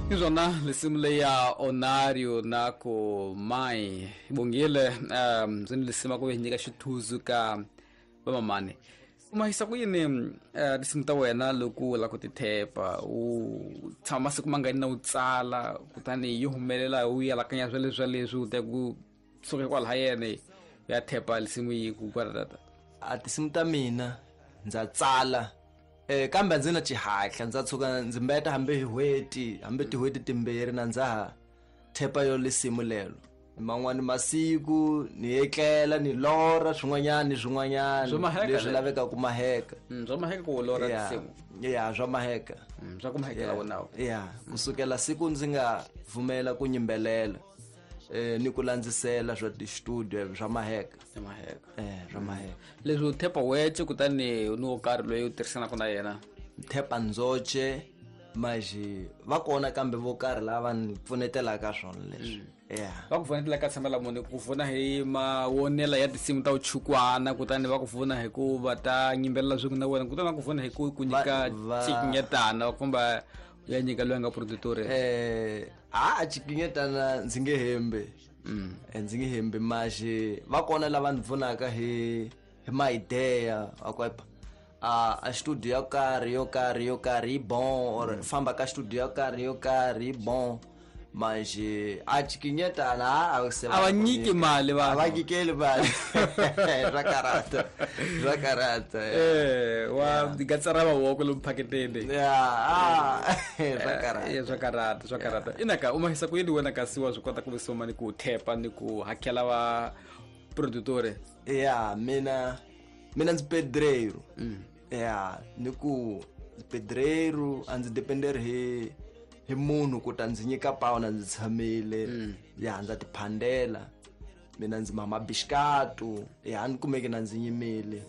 Hi swona lisimu leyi ya Onario na ku mai bongile ndzi ni lisima ku hi nyika xithuzu ka vamamani. U mahisa ku yini tinsimu ta wena loko u lava ku ti thepa? U tshama masiku mangani na u tsala, kutani yi humelela u yalakanya swa leswi swa leswi u ta ku suka kwalaha yene ya thepa lisimu yi ku kwaratata? A tinsimu ta mina ndza tsala, kambe a ndzi na xihatla, ndza tshuka ndzi mbeta hambi hi n'hweti, hambi tin'hweti timbirhi na ndza ha thepa yo lisimu lelo. Man'wani masiku ni etlela ni lorha swin'wanyana ni swin'wanyana Swa maheka leswi le. lavekaka ku maheka. Swa maheka ku lorha tinsimu. Ya, swa maheka. Swa ku mahekela wona. Ya, kusukela siku ndzi nga pfumela ku nyimbelela ni ku landzisela swa ti-studio swa maheka. Swa maheka. Swa maheka. Leswi u thepa wexe kutani ni wo karhi loyi u tirhisanaka na yena? Thepa ndzoxe, maji va kona kambe vo karhi lava ni pfunetelaka swona leswi. Va ku pfunetela ka tshama la muni, ku pfuna hi mawonela ya tinsimu ta vuchukwana, kutani va ku pfuna hi ku va ta nyimbelela swin'we na wena, kutani va ku pfuna hi ku ku nyika xikinyetana kumbe ya nyika loyi a nga produtor. A xikinyetana ndzi nge hembi. Ndzi nge hembi, maji va kona lava ni pfunaka hi ma-idea, va ku, a studio yo karhi, yo karhi, yo karhi yi bon, or famba ka studio yo karhi, yo karhi yi bon. Manje a xikinyetana, a se A va nyiki mali vanhu. A va nyikeli mali. Swa karata. Swa karata. Wa gatsa ra mavoko lomu phaketeni. Ya, swa karata. Swa karata, swa karata. Inaka u mahisa ku yini wena kasi wa swi kota ku visoma ni ku thepa ni ku hakela va produtore? Ya, mina ndzi pedreiro. Ya, ni ku ndzi pedreiro, a ndzi dependeri hi munhu ku ta ndzi nyika pawu na ndzi tshamile. Ya, ndza tiphandela. Mina ndzi mama bixikatu. Ya, a ni kumeki na ndzi nyimile.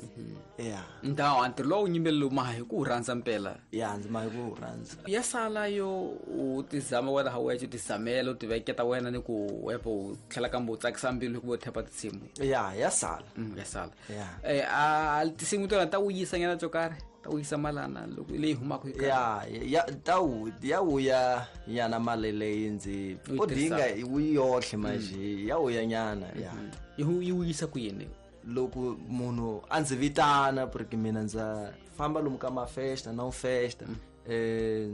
Ya. Ndhawu, a ntirho lowu nyimbelelo maha hi ku wu rhandza mpela. Ya, ndzi maha hi ku wu rhandza. Ya sala yo u tizama wena ha wexe, u tizamela, u tiveketa wena ni ku wepo u tlhela kambe u tsakisa mbilu hikuva u thepa tinsimu. Ya, ya sala. Ya sala. Ya. A tinsimu tona ta wuyisa nyana byo karhi? Ta wuyisa malana loko leyi humaka hi karhi? Ya, ya, ta wu, ya wuya nyana mali leyi ndzi U yi u dinga tirhisaka. yi wu yohle manje, ya wuya nyana, ya. Yi yi wuyisa ku yini? Loko munhu a ndzi vitana porque mina ndza famba lomu ka mafesta na festa,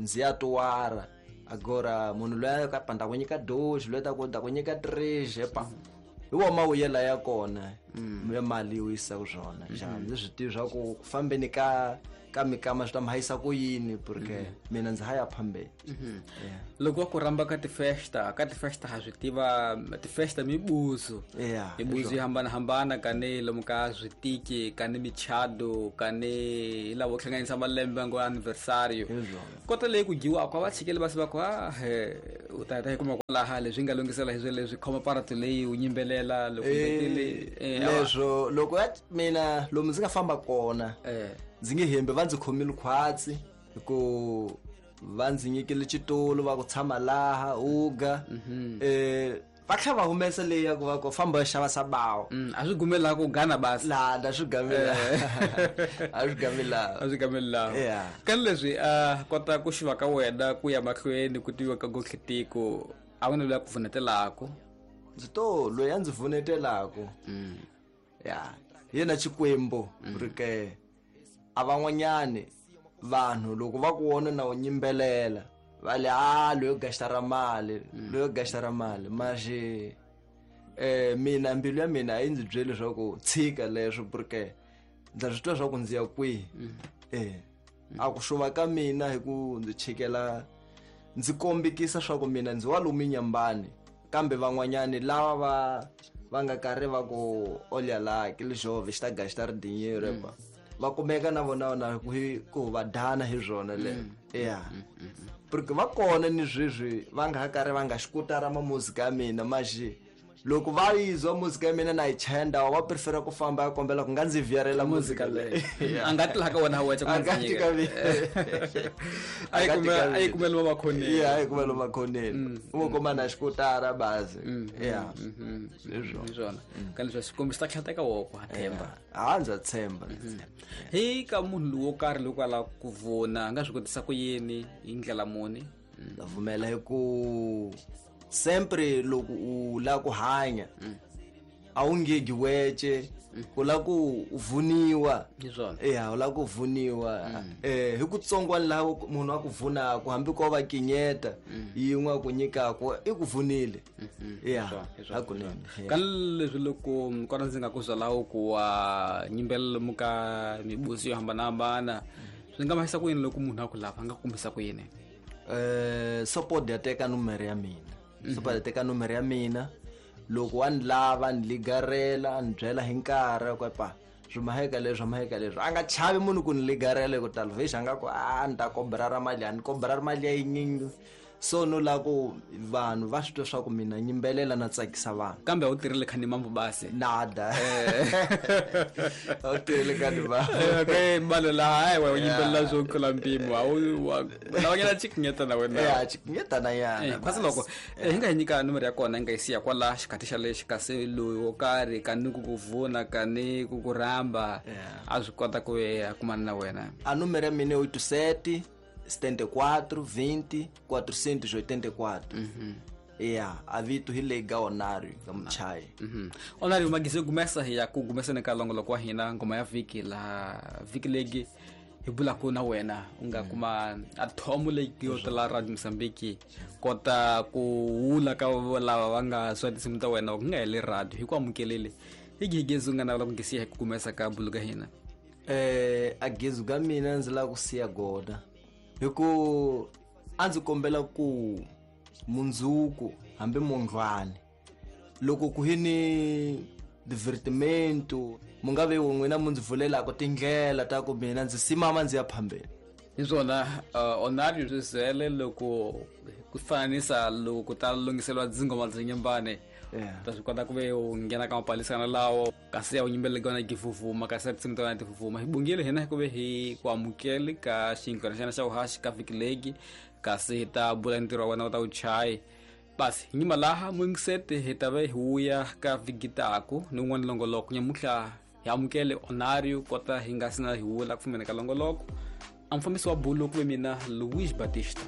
ndzi ya tuwara. Agora munhu loyi a ka pa, nda ku nyika doze, loyi ta ku, nda ku nyika 3, epa. Hi wona mawuyela ya kona, ya mali yi wuyisaka swona. Xa, ndzi swi tivi swa ku ku fambeni ka mikama swi ta mi hanyisa ku yini, porque mina ndzi ha ya phambeni. Yeah. Loko va ku rhamba ka tifesta, ka tifesta ha swi tiva tifesta mibuzo. Yeah, Mibuzo yo hambanahambana, ka ni lomu ka switiki, ka ni michado, ka ni hi lava ku hlanganisa malembe ngo anniversario. Hi swona. Kota leyi ku dyiwaka, va tshikele va se va ku, he, u ta heta hi kuma kwalaha leswi nga lunghisela hi swo leswi, khoma paratu leyi u nyimbelela loko mbetele, a va Leswo loko ya mina lomu ndzi nga famba kona, ndzi nge hembi, va ndzi khomile khwatsi hi ku va ndzi nyikile xitulu va ku tshama laha uga. Va tlhela va humesa leyi ya ku va ku famba va xava sabawu. A swi gumeli laha ku gana basi. Laha, a swi gameli laha. A swi gameli laha. A swi gameli laha. Yeah. Ka leswi, a kota ku xiva ka wena ku ya mahlweni ku tiviwa ka Gotlhe-Tiko, a wu na loyi a ku pfunetelaku? Ndzi to loyi a ndzi pfunetelaku. Ya, yena Xikwembu, porque a van'wanyani vanhu loko va ku vona na u nyimbelela va le, loyo gastara mali, loyo gastara mali. Manje, mina mbilu ya mina a yi ndzi byeli leswaku tshika leswo, porque ndza swi twa swa ku ndzi ya kwihi. A ku xuva ka mina hi ku ndzi chikela, ndzi kombekisa swa ku mina ndzi wa lomu nyambani, kambe van'wanyani lava va nga karhi va ku olya la ke le jove xi ta gasta ri dinheiro, epa. Va kumeka na vona na ku hi, ku va dana hi swona le. Ya. Porque va kona ni sweswi va nga ha karhi va nga xi kutara ma muzika ya mina, manje loko va yizwa muzika ya mina na yi chaya ndhawu, va prefera ku famba ya kombela ku nga ndzi viyarela muzika leyi. Yeah. A nga ti laha ka wena wexe ku A nga ndzi ti nyika. ka mina. A yi A nga ti kumela, ka a yi mina. kumela va makhoneni. Yeah, a yi kumela makhoneni. U ngo kuma na xikutara bazi. Yeah. Hi swona. Hi swona. Ka leswi Xikwembu xi ta tlhateka woko, ha tshemba. Yeah. Ha, ndza tshemba, ndza tshemba. Hi ka munhu lowo karhi loko a lava ku vona, a nga swi kotisa ku yini hi ndlela muni? Ndza pfumela hi ku sempre loko u lava ku hanya a wu ngegi wece, u lava ku vuniwa. Hi swona. Ya, u lava ku vuniwa hi ku tsongwana laha munhu a ku vunaka, hambi ko va kinyeta yin'we a ku nyikaku, i ku vunile. Ya, hakunene. Ka leswi loko kona ndzi nga ku byalawo ku wa nyimbelela lomu ka mibusi yo hambanahambana, swi nga mahisa ku yini loko munhu a ku lava, a nga kumisa ku yini? Support ya teka numero ya mina. Support ya teka numero ya mina. Loko wa ni lava, ni ligarela, ni byela hi nkarhi ku pa swi maheka leswi, maheka leswi. A nga chavi munhu ku ni ligarela hi ku tala vhexi a nga ku a ni ta kobra ra mali, a ni kobra ra mali ya yinyingi. So no lava ku vanhu va swi twa swa ku mina nyimbelela na tsakisa vanhu. Kambe a wu tirhile khani mambo basi? Nada. A wu tirhile khani mambo. Okay, balo la hayi wa yimbelela swo tlula mpimo. A wu wa lava nyana chikinyeta na wena. Ya, chikinyeta na yana. Kasi loko hi nga hi nyika nomoro ya kona, hi nga yi siya kwala xikhathi xa lexi, kasi loyi wo karhi ka ni ku ku vuna, ka ni ku ku rhamba, a swi kota ku ya kumana na wena. A nomoro ya mina i 87 74 20 484. Ya, a vito hi leyi ga Onario ga Muchayi. Onario magisi gumesa hi ya ku gumeseni ka longoloko wa hina ngoma ya vhiki laha vhiki legi hi bulaku na wena u nga kuma a thomo leyi yo tala Radio Mozambique kota ku wula ka lava va nga swa tinsimu ta wena ku nga heli radio hi ku amukelele hi gigezi u nga navela ku ngisiya hi ku gumesa ka bulu ka hina. A gezu ka mina ndzi lava ku siya gona hi ku a ndzi kombela ku mundzuku hambi mundlwani loko ku hi ni divertimento mu nga ve n'wina mu ndzi vulelaka tindlela ta ku mina ndzi simama ndzi ya phambeni. Hi swona, Onario swi zele loko ku fananisa loko ku ta lunghiseriwa dzingoma bya nyimbane. Ta swi kota ku ve u nghena ka mapalisana lawo kasi ya u yimbeleleke wena givuvuma, kasi ya tinsimu ta wena tivuvuma. Hi bungile hina hi ku ve hi ku amukele ka xinghana xana xa vuhaxi ka vhiki legi, kasi hi ta bula ntirho wa wena wu ta wu chayi. Basi hi nyima laha muyingiseti hi ta ve hi wuya ka vhiki taku ni un'wana longoloko. Nyamuhla hi amukele Onario kota hi nga sina hi wula ku fumeni ka longoloko. A mufambisi wa bulu ku ve mina Luis Batista.